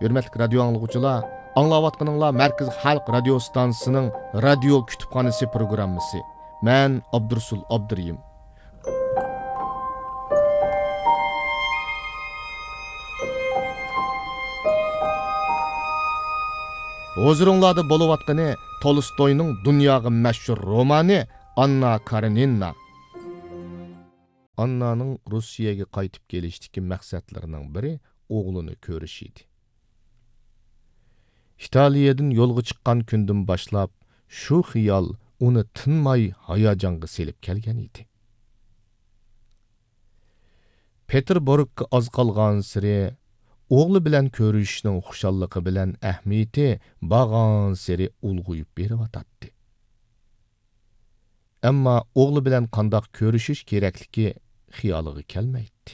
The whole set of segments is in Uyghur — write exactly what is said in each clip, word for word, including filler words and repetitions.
ھۆرمەتلىك رادىيو ئاڭلىغۇچىلار، ئاڭلاۋاتقىنىڭلار مەركىزىي خەلق رادىيو ئىستانسىسىنىڭ رادىيو كۇتۇپخانىسى پروگراممىسى. مەن ئابدۇرۇسۇل ئابدۇرېھىم. ھۇزۇرۇڭلاردا بولۇۋاتقىنى تولستوينىڭ دۇنياغا مەشھۇر رومانى ئاننا كارېنىنا. ئاننانىڭ روسىيەگە قايتىپ كېلىشتىكى مەقسەتلىرىنىڭ بىرى ئوغلىنى كۆرۈش ئىدى. ئىتالىيەدىن يولغا چىققان كۈندىن باشلاپ، شۇ خىيال ئۇنى تىنماي ھاياجانغا سېلىپ كەلگەن ئىدى. پېتېربۇرگقا ئاز قالغانسېرى، ئوغلى بىلەن كۆرۈشۈشنىڭ خۇشاللىقى بىلەن ئەھمىيىتى بارغانسېرى ئۇلغىيىپ بېرىۋاتاتتى. ئەمما ئوغلى بىلەن قانداق كۆرۈشۈش كېرەكلىكى خىيالىغا كەلمەيتتى.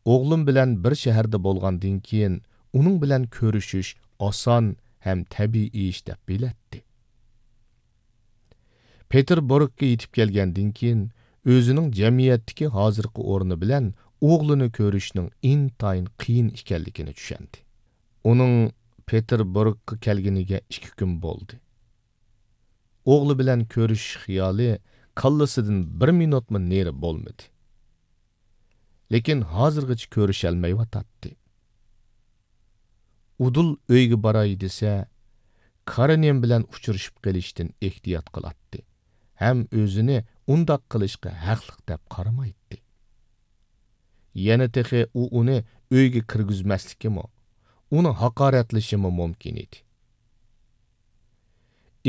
ئوغلۇم بىلەن بىر شەھەردە بولغاندىن كېيىن، ئۇنىڭ بىلەن كۆرۈشۈش ئاسان ھەم تەبىئىي ئىش دەپ بىلەتتى. پېتېربۇرگقا يېتىپ كەلگەندىن كېيىن، ئۆزىنىڭ جەمئىيەتتىكى ھازىرقى ئورنى بىلەن ئوغلىنى كۆرۈشنىڭ ئىنتايىن قىيىن ئىكەنلىكىنى چۈشەندى. ئۇنىڭ پېتېربۇرگقا كەلگىنىگە ئىككى كۈن بولدى. ئوغلى بىلەن كۆرۈشۈش خىيالى كاللىسىدىن بىر مىنۇتمۇ نېرى بولمىدى. لېكىن ھازىرغىچە كۆرۈشەلمەيۋاتاتتى. ئۇدۇل ئۆيگە باراي دېسە، كارېنىن بىلەن ئۇچرىشىپ قېلىشتىن ئېھتىيات قىلاتتى ھەم ئۆزىنى ئۇنداق قىلىشقا ھەقلىق دەپ قارىمايتتى. يەنە تېخى ئۇ ئۇنى ئۆيگە كىرگۈزمەسلىكىمۇ، ئۇنى ھاقارەتلىشىمۇ مۇمكىن ئىدى.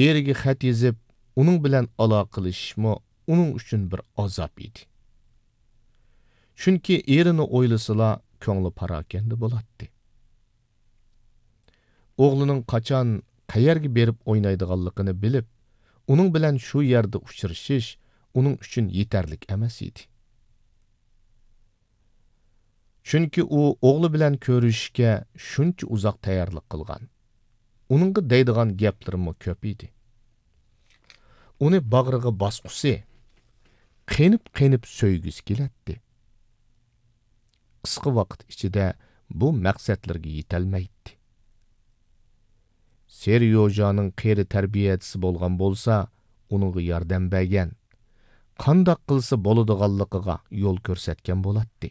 ئېرىگە خەت يېزىپ، ئۇنىڭ بىلەن ئالاقىلىشىشمۇ ئۇنىڭ ئۈچۈن بىر ئازاب ئىدى. چۈنكى ئېرىنى ئويلىسىلا، كۆڭلى پاراكەندە بولاتتى. ئوغلىنىڭ قاچان، قەيەرگە بېرىپ ئوينايدىغانلىقىنى بىلىپ، ئۇنىڭ بىلەن شۇ يەردە ئۇچرىشىش ئۇنىڭ ئۈچۈن يېتەرلىك ئەمەس ئىدى. چۈنكى ئۇ ئوغلى بىلەن كۆرۈشۈشكە شۇنچە ئۇزاق تەييارلىق قىلغان. ئۇنىڭغا دەيدىغان گەپلىرىمۇ كۆپ ئىدى. ئۇنى باغرىغا باسقۇسى، قېنىپ-قېنىپ سۆيگۈسى كېلەتتى. قىسقا ۋاقىت ئىچىدە بۇ مەقسەتلىرىگە يېتەلمەيتتى. سېريوژانىڭ قېرى تەربىيەچىسى بولغان بولسا، ئۇنىڭغا ياردەم بەرگەن، قانداق قىلسا بولىدىغانلىقىغا يول كۆرسەتكەن بولاتتى.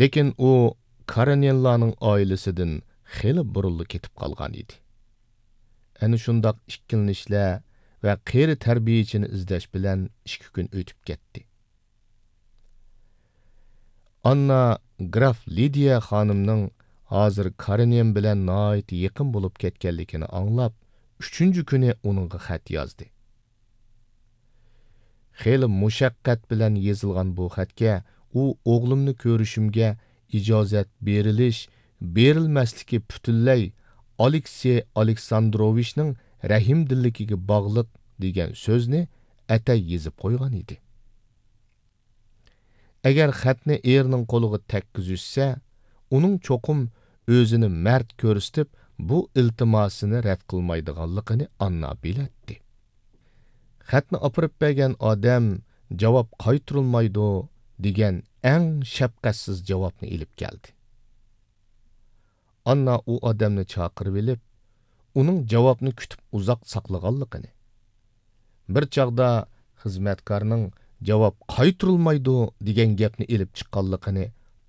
لېكىن ئۇ كارېنىنلارنىڭ ئائىلىسىدىن خېلى بۇرۇنلا كېتىپ قالغان ئىدى. ئەنە شۇنداق ئىككىلىنىشلەر ۋە قېرى تەربىيەچىنى ئىزدەش بىلەن ئىككى كۈن ئۆتۈپ كەتتى. ئاننا گراف لىدىيە خانىمنىڭ ھازىر كارېنىن بىلەن ناھايىتى يېقىن بولۇپ كەتكەنلىكىنى ئاڭلاپ، ئۈچىنچى كۈنى ئۇنىڭغا خەت يازدى. خېلى مۇشەققەت بىلەن يېزىلغان بۇ خەتكە ئۇ ئوغلۇمنى كۆرۈشۈمگە ئىجازەت بېرىلىش، بېرىلمەسلىكى پۈتۈنلەي ئالېكسېي ئالېكساندروۋىچنىڭ رەھىمدىللىكىگە باغلىق دېگەن سۆزنى ئەتەي يېزىپ قويغان ئىدى. ئەگەر خەتنى ئېرىنىڭ قولىغا تەگكۈزۈشسە، ئۇنىڭ چوقۇم ئۆزىنى مەرد كۆرسىتىپ، بۇ ئىلتىماسىنى رەت قىلمايدىغانلىقىنى ئاننا بىلەتتى. خەتنى ئاپىرىپ بەرگەن ئادەم جاۋاب قايتۇرۇلمايدۇ دېگەن ئەڭ شەپقەتسىز جاۋابنى ئېلىپ كەلدى. ئاننا ئۇ ئادەمنى چاقىرىۋېلىپ، ئۇنىڭ جاۋابنى كۈتۈپ ئۇزاق ساقلىغانلىقىنى، بىر چاغدا خىزمەتكارنىڭ جاۋاب قايتۇرۇلمايدۇ دېگەن گەپنى ئېلىپ چىققانلىقىنى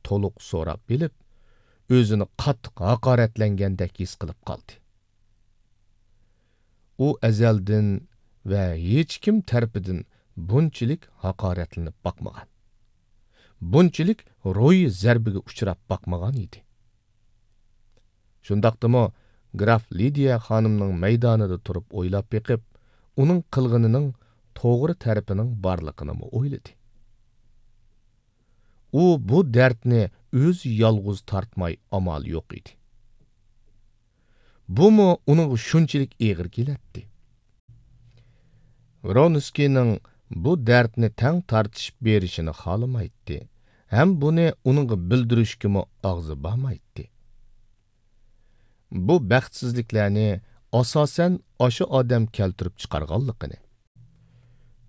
تولۇق سوراپ بىلىپ، ئۆزىنى قاتتىق ھاقارەتلەنگەندەك ھېس قىلىپ قالدى. ئۇ ئەزەلدىن ۋە ھېچكىم تەرىپىدىن بۇنچىلىك ھاقارەتلىنىپ باقمىغان، بۇنچىلىك روھىي زەربىگە ئۇچراپ باقمىغان ئىدى. شۇنداقتىمۇ گراف لىدىيە خانىمنىڭ مەيدانىدا تۇرۇپ ئويلاپ بېقىپ، ئۇنىڭ قىلغىنىنىڭ توغرا تەرىپىنىڭ بارلىقىنىمۇ ئويلىدى. ئۇ بۇ دەردنى ئۆزى يالغۇز تارتماي ئامالى يوق ئىدى. بۇمۇ ئۇنىڭغا شۇنچىلىك ئېغىر كېلەتتى. ۋرونسكىينىڭ بۇ دەردنى تەڭ تارتىشىپ بېرىشىنى خالىمايتتى ھەم بۇنى ئۇنىڭغا بىلدۈرۈشكىمۇ ئاغزى بارمايتتى. بۇ بەختسىزلىكلەرنى ئاساسەن ئاشۇ ئادەم كەلتۈرۈپ چىقارغانلىقىنى،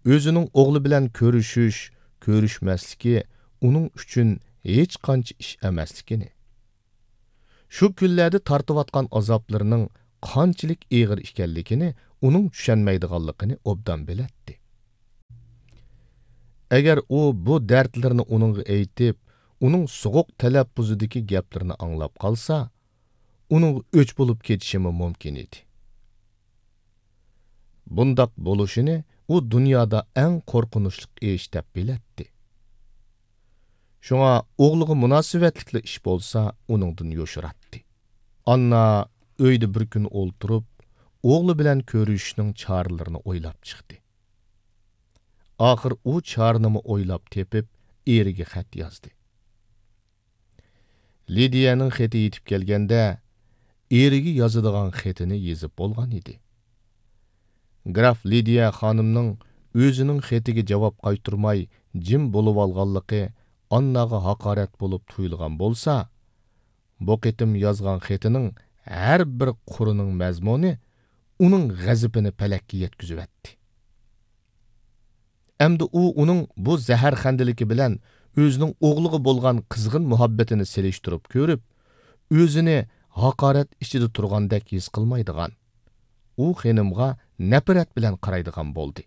ئۆزىنىڭ ئوغلى بىلەن كۆرۈشۈش، كۆرۈشمەسلىكى ئۇنىڭ ئۈچۈن ھېچقانچە ئىش ئەمەسلىكىنى، شۇ كۈنلەردە تارتىۋاتقان ئازابلىرىنىڭ قانچىلىك ئېغىر ئىكەنلىكىنى ئۇنىڭ چۈشەنمەيدىغانلىقىنى ئوبدان بىلەتتى. ئەگەر ئۇ بۇ دەردلىرىنى ئۇنىڭغا ئېيتىپ، ئۇنىڭ سوغۇق تەلەپپۇزىدىكى گەپلىرىنى ئاڭلاپ قالسا، ئۇنىڭغا ئۆچ بولۇپ كېتىشىمۇ مۇمكىن ئىدى. بۇنداق بولۇشىنى ئۇ دۇنيادا ئەڭ قورقۇنچلۇق ئىش دەپ بىلەتتى. شۇڭا ئوغلىغا مۇناسىۋەتلىكلا ئىش بولسا، ئۇنىڭدىن يوشۇراتتى. ئاننا ئۆيدە بىر كۈن ئولتۇرۇپ، ئوغلى بىلەن كۆرۈشۈشنىڭ چارىلىرىنى ئويلاپ چىقتى. ئاخىر ئۇ چارىنىمۇ ئويلاپ تېپىپ، ئېرىگە خەت يازدى. لىدىيەنىڭ خېتى يېتىپ كەلگەندە، ئېرىگە يازىدىغان خېتىنى يېزىپ بولغان ئىدى. گراف لىدىيە خانىمنىڭ ئۆزىنىڭ خېتىگە جاۋاب قايتۇرماي جىم بولۇۋالغانلىقى ئانناغا ھاقارەت بولۇپ تۇيۇلغان بولسا، بۇ قېتىم يازغان خېتىنىڭ ھەر بىر قۇرىنىڭ مەزمۇنى ئۇنىڭ غەزىپىنى پەلەككە يەتكۈزۈۋەتتى. ئەمدى ئۇ ئۇنىڭ بۇ زەھەرخەندىلىكى بىلەن ئۆزىنىڭ ئوغلىغا بولغان قىزغىن مۇھەببىتىنى سېلىشتۇرۇپ كۆرۈپ، ئۆزىنى ھاقارەت ئىچىدە تۇرغاندەك ھېس قىلمايدىغان، ئۇ خېنىمغا نەپرەت بىلەن قارايدىغان بولدى.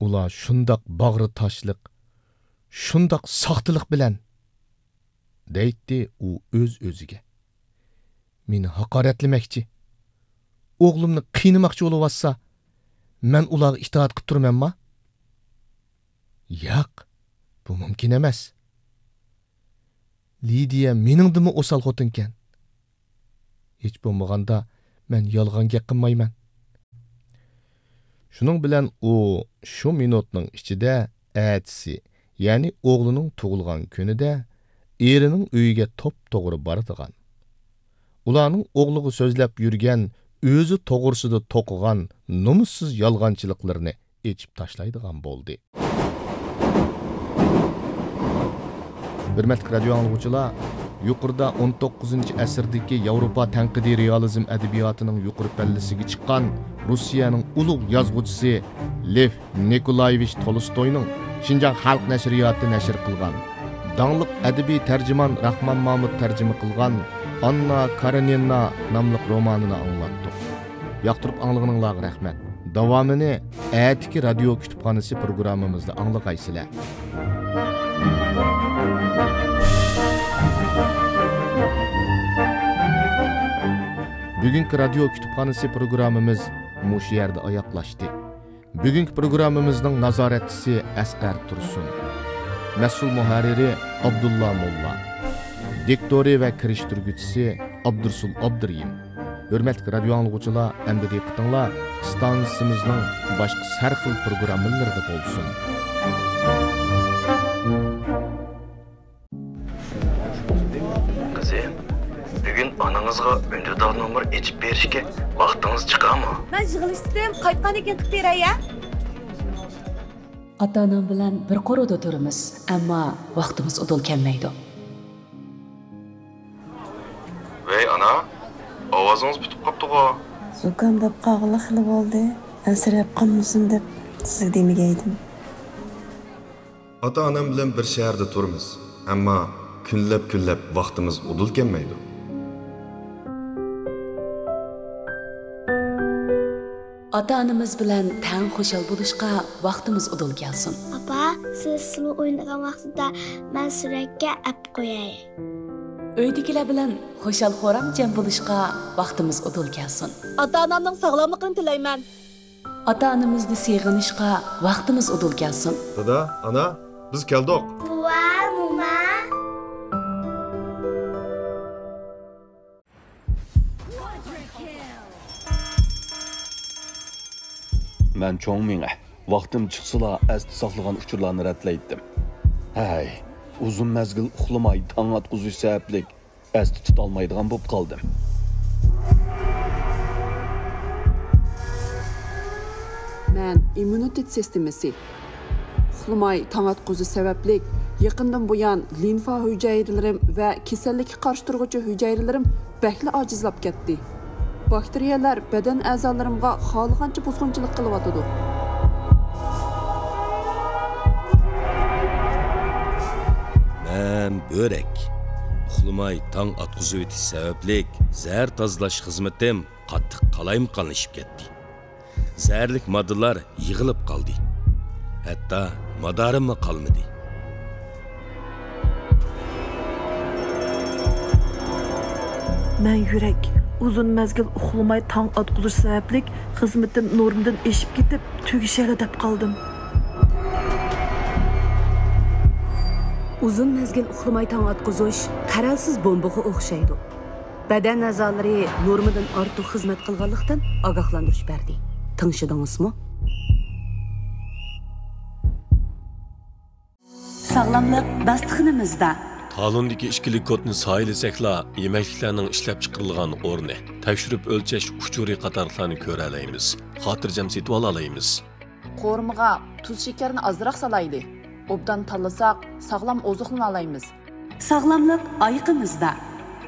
ئۇلار شۇنداق باغرى تاشلىق، شۇنداق ساختىلىق بىلەن، دەيتتى ئۇ ئۆز-ئۆزىگە. مېنى ھاقارەتلىمەكچى، ئوغلۇمنى قىينىماقچى بولۇۋاتسا، مەن ئۇلارغا ئىتائەت قىپ تۇرىمەنما؟ ياق، بۇ مۇمكىن ئەمەس. لىدىيە مېنىڭدىنمۇ ئوسال خوتۇنكەن. ھېچ بولمىغاندا مەن يالغان گەپ قىلمايمەن. شۇنىڭ بىلەن ئۇ شۇ مىنۇتنىڭ ئىچىدە ئەتىسى، يەنى ئوغلىنىڭ تۇغۇلغان كۈنىدە ئېرىنىڭ ئۆيىگە توپتوغرا بارىدىغان. ئۇلارنىڭ ئوغلىغا سۆزلەپ يۈرگەن، ئۆزى توغرىسىدا توقۇغان نومۇسسىز يالغانچىلىقلىرىنى ئېچىپ تاشلايدىغان بولدى. ھۆرمەتلىك رادىيو ئاڭلىغۇچىلار، يۇقىرىدا ئون توققۇزىنچى ئەسىردىكى ياۋروپا تەنقىدىي رېئالىزم ئەدەبىياتىنىڭ يۇقىرى پەللىسىگە چىققان روسىيەنىڭ ئۇلۇغ يازغۇچىسى لېف نىكولايېۋىچ تولستوينىڭ شىنجاڭ خەلق نەشرىياتى نەشر قىلغان، داڭلىق ئەدەبىي تەرجىمان راخمان مامۇت تەرجىمە قىلغان ئاننا كارېنىنا ناملىق رومانىنى ئاڭلاتتۇق. ياقتۇرۇپ ئاڭلىغىنىڭلارغا رەھمەت. داۋامىنى ئەتىكى رادىيو كۇتۇپخانىسى پروگراممىمىزدا ئاڭلىغايسىلەر. بۈگۈنكى رادىيو كۇتۇپخانىسى پروگراممىمىز مۇشۇ يەردە ئاياغلاشتى. بۈگۈنكى پروگراممىمىزنىڭ نازارەتچىسى ئەسقەر تۇرسۇن. مەسئۇل مۇھەررىرى ئابدۇللا موللا. دىكتورى ۋە كىرىشتۈرگۈچىسى ئابدۇرسۇل ئابدۇرېھىم. ھۆرمەتلىك رادىيو ئاڭلىغۇچىلار، ئەمدى دىققىتىڭلار ئىستانسىمىزنىڭ باشقا سەرخىل پروگراممىلىرىدا بولسۇن. قىزىم، بۈگۈن ئانىڭىزغا ئۈندىدار نومۇر ئېچىپ بېرىشكە ۋاقتىڭىز چىقارمۇ؟ مەن يىغىلىشتىم، قايتقاندىن كېيىن قىلىپ بېرەي، ھە؟ ئاتا-ئانام بىلەن بىر قورۇدا تۇرىمىز، ئەمما ۋاقتىمىز ئۇدۇل كەلمەيدۇ. ۋەي ئانا، ئاۋازىڭىز پۈتۈپ قاپتىغۇ؟ زۇكام بولۇپ قالغىلى خېلى بولدى، ئەنسىرەپ قالمىسۇن دەپ سىزگە دېمىگەيدىم. ئاتا-ئانام بىلەن بىر شەھەردە تۇرىمىز، ئەمما كۈنلەپ-كۈنلەپ ۋاقتىمىز ئۇدۇل كەلمەيدۇ. ئاتا-ئانىمىز بىلەن تەڭ خۇشال بولۇشقا ۋاقتىمىز ئۇدۇل كەلسۇن. ئاپا، سىز سىلى ئوينىغان ۋاقتىدا مەن سۈرەتكە ئەپ قوياي. ئۆيدىكىلەر بىلەن خۇشال-خۇرام جەم بولۇشقا ۋاقتىمىز ئۇدۇل كەلسۇن. ئاتا-ئانامنىڭ ساغلاملىقىنى تىلەيمەن. ئاتا-ئانىمىزنى سېغىنىشقا ۋاقتىمىز ئۇدۇل كەلسۇن. دادا، ئانا، بىز كەلدۇق. بوۋا، موما. مەن چوڭ مېڭە. ۋاقتىم چىقسىلا ئەستە ساقلىغان ئۇچۇرلارنى رەتلەيتتىم. ھەي، ئۇزۇن مەزگىل ئۇخلىماي تاڭ ئاتقۇزۇش سەۋەبلىك ئەستە تۇتالمايدىغان بولۇپ قالدىم. مەن ئىممۇنىتېت سىستېمىسى. ئۇخلىماي تاڭ ئاتقۇزۇش سەۋەبلىك يېقىندىن بۇيان لىمفا ھۈجەيرىلىرىم ۋە كېسەللىككە قارشى تۇرغۇچى ھۈجەيرىلىرىم بەكلا ئاجىزلاپ كەتتى. باكتېرىيەلەر بەدەن ئەزالىرىمغا خالىغانچە بۇزغۇنچىلىق قىلىۋاتىدۇ. ھەم بۆرەك. ئۇخلىماي تاڭ ئاتقۇزۇۋېتىش سەۋەبلىك زەھەر تازىلاش خىزمىتىم قاتتىق قالايمىقانلىشىپ كەتتى. زەھەرلىك ماددىلار يىغىلىپ قالدى. ھەتتا مادارىممۇ قالمىدى. مەن يۈرەك. ئۇزۇن مەزگىل ئۇخلىماي تاڭ ئاتقۇزۇش سەۋەبلىك خىزمىتىم نورمىدىن ئېشىپ كېتىپ، تۈگىشەيلا دەپ قالدىم. ئۇزۇن مەزگىل ئۇخلىماي تاڭ ئاتقۇزۇش قەرەلسىز بومبىغا ئوخشايدۇ. بەدەن ئەزالىرى نورمىدىن ئارتۇق خىزمەت قىلغانلىقتىن ئاگاھلاندۇرۇش بەردى. تىڭشىدىڭىزمۇ؟ ساغلاملىق داستىخىنىمىزدا. تالوندىكى ئىككىلىك كودنى سايىلىسەكلا، يېمەكلىكلەرنىڭ ئىشلەپچىقىرىلغان ئورنى، تەكشۈرۈپ ئۆلچەش ئۇچۇرى قاتارلىقلارنى كۆرەلەيمىز، خاتىرجەم سېتىۋالالايمىز. قورۇمىغا تۇز شېكەرنى ئازراق سالايلى. ئوبدان تاللىساق، ساغلام ئوزۇقلىنالايمىز. ساغلاملىق ئايىقىمىزدا.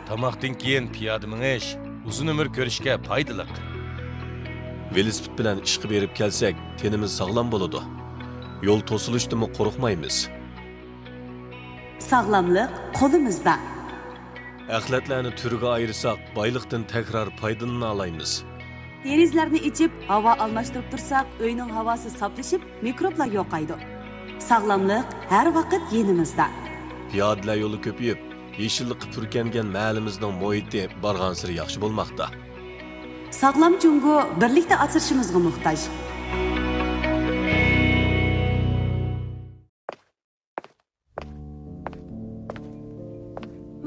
تاماقتىن كېيىن پىيادە مېڭىش ئۇزۇن ئۆمۈر كۆرۈشكە پايدىلىق. ۋېلىسىپىت بىلەن ئىشقا بېرىپ كەلسەك، تېنىمىز ساغلام بولىدۇ. يول توسۇلۇشتىنمۇ قورقمايمىز. ساغلاملىق قولىمىزدا. ئەخلەتلەرنى تۈرگە ئايرىساق، بايلىقتىن تەكرار پايدىلىنالايمىز. دېرىزىلەرنى ئېچىپ، ھاۋا ئالماشتۇرۇپ تۇرساق، ئۆينىڭ ھاۋاسى ساپلىشىپ، مىكروبلار يوقايدۇ. ساغلاملىق ھەر ۋاقىت يېنىمىزدا. پىيادىلەر يولى كۆپىيىپ، يېشىللىققا پۈركەنگەن مەھەللىمىزنىڭ مۇھىتى بارغانسېرى ياخشى بولماقتا. ساغلام جۇڭگو بىرلىكتە ئاسرىشىمىزغا موھتاج.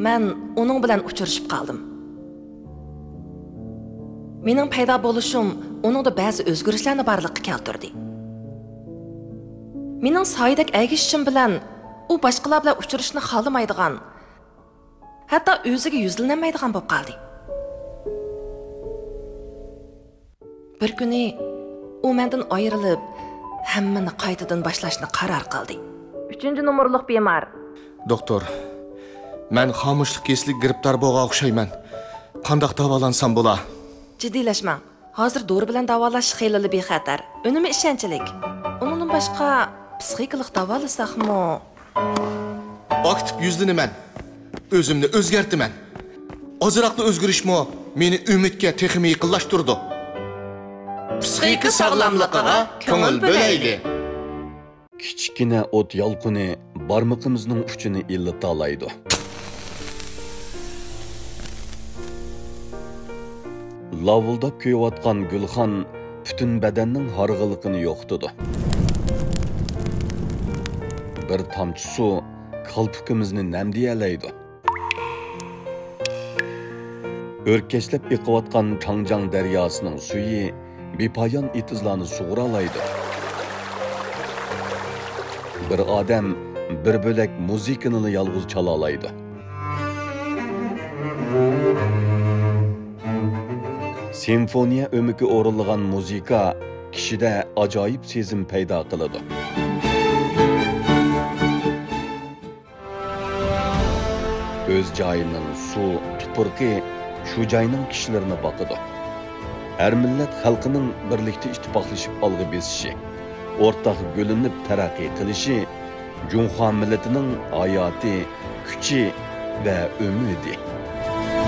مەن ئۇنىڭ بىلەن ئۇچرىشىپ قالدىم. مېنىڭ پەيدا بولۇشۇم ئۇنىڭدا بەزى ئۆزگىرىشلەرنى بارلىققا كەلتۈردى. مېنىڭ سايىدەك ئەگىشىشىم بىلەن ئۇ باشقىلار بىلەن ئۇچرىشىشنى خالىمايدىغان، ھەتتا ئۆزىگە يۈزلىنەلمەيدىغان بولۇپ قالدى. بىر كۈنى ئۇ مەندىن ئايرىلىپ، ھەممىنى قايتىدىن باشلاشنى قارار قىلدى. ئۈچىنچى نومۇرلۇق بىمار. دوختۇر، مەن خامۇشلۇق كېسىلىگە گىرىپتار بولغان ئوخشايمەن. قانداق داۋالانسام بولا؟ جىددىيلەشمەڭ. ھازىر دورا بىلەن داۋالاش خېلىلا بىخەتەر، ئۈنۈمى ئىشەنچلىك. ئۇنىڭدىن باشقا، پسىخىكىلىق داۋالىساقمۇ؟ ئاكتىپ يۈزلىنىمەن. ئۆزۈمنى ئۆزگەرتىمەن. ئازراقلا ئۆزگىرىشمۇ مېنى ئۈمىدكە تېخىمۇ يېقىنلاشتۇرىدۇ. پسىخىكا ساغلاملىقىغا كۆڭۈل بۆلەيلى. كىچىككىنە ئوت يالقۇنى بارمىقىمىزنىڭ ئۇچىنى ئىللىتالايدۇ. لاۋۇلداپ كۆيۈۋاتقان گۈلخان پۈتۈن بەدەننىڭ ھارغىنلىقىنى يوقىتىدۇ. بىر تامچە سۇ كالپۇكىمىزنى نەمدىيەلەيدۇ. ئۆركەشلەپ ئېقىۋاتقان چاڭجياڭ دەرياسىنىڭ سۈيى بىپايان ئېتىزلارنى سۇغۇرالايدۇ. بىر ئادەم بىر بۆلەك مۇزىكىنىلا يالغۇز چالالايدۇ. سىمفونىيە ئۆمىكى ئورۇنلىغان مۇزىكا كىشىدە ئاجايىپ سېزىم پەيدا قىلىدۇ. ئۆز جايىنىڭ سۇ، تۇپرىقى شۇ جاينىڭ كىشىلىرىنى باقىدۇ. ھەر مىللەت خەلقىنىڭ بىرلىكتە ئىتتىپاقلىشىپ ئالغا بېسىشى، ئورتاق گۈللىنىپ تەرەققىي قىلىشى جۇڭخۇا مىللىتىنىڭ ھاياتى، كۈچى ۋە ئۈمىدى.